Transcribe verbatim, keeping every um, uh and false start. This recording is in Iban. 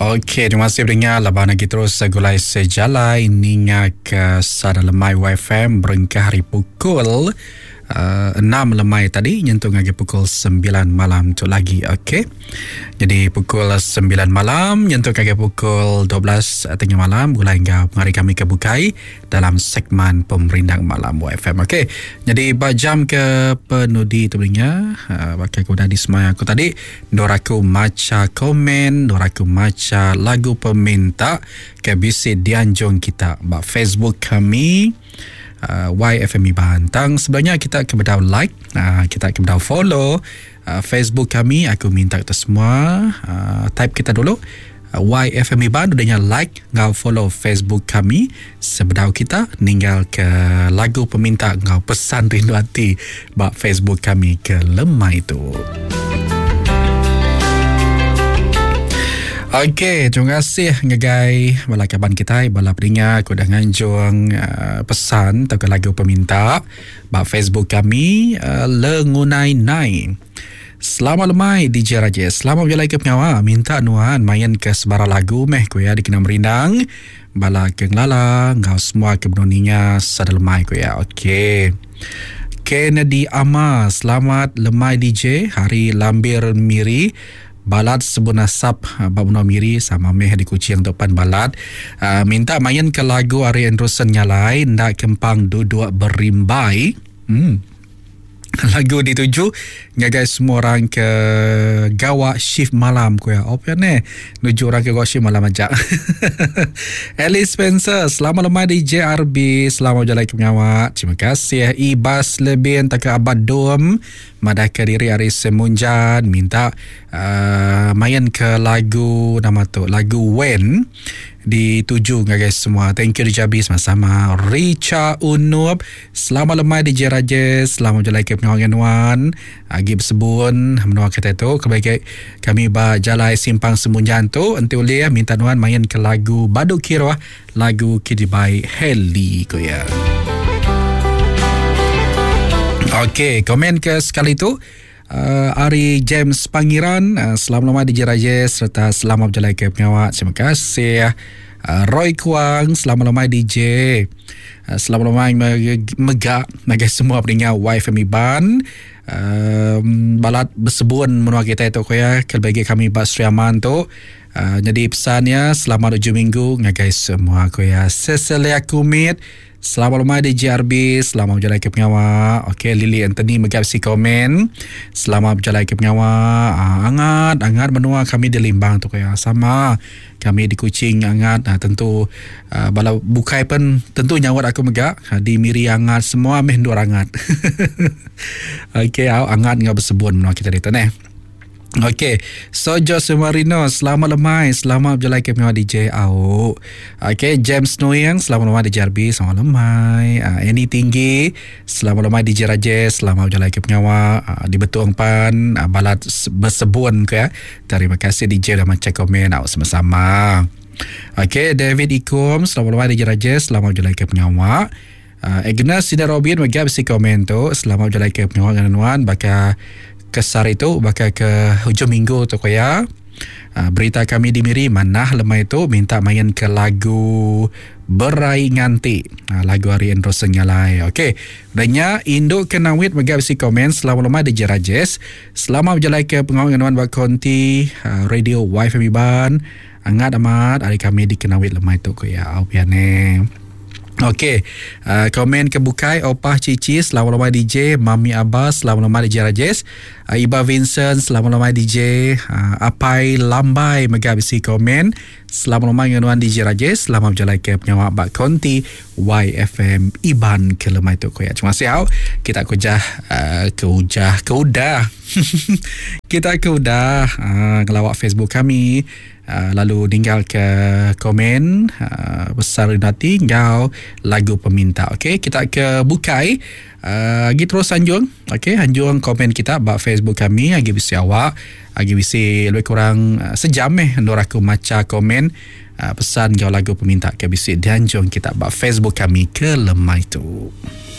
Okey, terima kasih pendengar laban lagi terus segulai sejalai ninga ke Sada Lemai Y F M berengkah hari pukul uh, enam lemai tadi nyentuk ngagai pukul sembilan malam tu lagi. Okey. Jadi pukul sembilan malam nyentuk ngagai pukul dua belas tengah malam mulai hingga hari kami ke bukai dalam segmen Pemerindang Malam Y F M. Okey. Jadi ba jam ke penudi tu pendengar, uh, pakai aku dah di semaya aku tadi, dor aku maca komen, dor aku maca lagu peminta ke bisi dianjung kita ba Facebook kami uh, Y F M Iban. Tang sebenarnya kita ke bedau like, uh, kita ke bedau follow uh, Facebook kami, aku minta kita semua uh, type kita dulu uh, Y F M Iban, udahnya like ngau follow Facebook kami sebedau kita ninggal ke lagu peminta ngau pesan rindu hati ba Facebook kami ke lemai itu. Okey, terima kasih ngagai bala kaban kita, bala peninga aku dah nganjung uh, pesan atau lagu peminta ba Facebook kami, uh, Lengunai Nai. Selamat lemai D J Rajesh. Selamat berjalan ke pengawa. Minta nuan main ke sebara lagu meh ku ya dikena merindang. Bala ke ngelala ngau semua ke benuninga sada lemai ku ya. Okey. Kennedy Ama, selamat lemai D J. Hari Lambir Miri. Balat sebun asap bab menua Miri sama meh di Kuching tu pan balat. Uh, minta main ke lagu Ari Anderson Nyalai ndak kempang duduk berimbai. Hmm. Lagu dituju ngagai semua orang ke gawak shift malam ku ya. Apa ni? Nuju orang ke gawak shift malam aja. Alice Spencer, selamat lemai di J R B. Selamat berjalan ke pengawak. Terima kasih. Ibas Lebih tak ke Abad Dom. Madah ke diri hari Semunjan minta uh, main ke lagu nama tu lagu When dituju ngagai semua. Thank you Dijabi, sama-sama. Richa Unup, selamat lemai D J Rajesh, selamat berjalan ke pengawal nuan. Agi bersebun menua kita tu kebaik kami ba jalai simpang Semunjan tu enti ulih minta nuan main ke lagu Badu Kiroh, lagu Kidibai Heli ko ya. Okey, komen ke sekali tu uh, Ari James Pangiran, uh, selamat lemai D J Rajesh serta selamat berjalan ke pengawak. Terima kasih. Uh, Roy Kuang, selamat lemai D J. Uh, selamat lemai megak ngagai semua pendengar Y F M Iban. Um, balat bersebun menua kita itu ko ya, bagi kami Bas Sri Aman tu. Uh, jadi pesannya selamat hujung minggu ngagai semua ko ya. Cecilia Kumit, selamat lemai di J R B, selamat berjalan ke pengawak. Okey, Lily Anthony megap si komen. Selamat berjalan ke pengawak. Uh, angat, angat menua kami di Limbang tu ya. Sama kami di Kuching angat. Uh, tentu uh, bala bukai pun tentu nyawat aku megak. Uh, di Miri angat, semua meh dua angat. Okey, angat ngau bersebun menua kita di tu neh. Okey, so Jose Marino, selamat lemai, selamat berjalan ke pengawal D J Au. Okey, James Noyang, selamat lemai D J R B, selamat lemai. Uh, Annie Tinggi, selamat lemai D J Rajesh, selamat berjalan ke pengawal. Uh, di Betuang Pan, uh, balat bersebun ke ya. Terima kasih D J dah macam komen, au sama-sama. Okey, David Ikum, selamat lemai D J Rajesh, selamat berjalan ke pengawal. Uh, Agnes Sina Robin, megap si komen tu, selamat berjalan ke pengawal dengan nuan, bakal kesar itu bakal ke hujung minggu tu ko ya. Uh, berita kami di Miri manah lemai itu minta main ke lagu Berai Nganti. Uh, lagu Ari Androsen Nyalai. Okey. Danya Induk Kenawit megap si komen, selamat lemai di Rajesh. Selamat berjalan ke pengawal dengan buat konti uh, radio Y F M Iban. Angat amat hari kami di Kenawit lemai tu ko ya. Au piane. Okey, uh, komen ke bukai Opah Cici, selamat lemai D J, Mami Abbas, selamat lemai D J Rajesh, uh, Iba Vincent, selamat lemai D J, uh, Apai Lambai mega bisi komen, selamat lemai dengan D J Rajesh, selamat berjalan ke pengawak Bak Konti Y F M Iban ke lemai tu koya. Terima kasih au. Kita kujah uh, ke ujah ke udah. Kita ke udah uh, ngelawak Facebook kami. Uh, lalu tinggal ke komen uh, besar nanti ngau lagu peminta. Okey, kita ke bukai uh, lagi terus anjung. Okey, anjung komen kita bak Facebook kami lagi bisi awak lagi bisi lebih kurang uh, sejam eh nur aku maca komen uh, pesan ngau lagu peminta ke bisi dianjung kita bak Facebook kami ke lemai tu.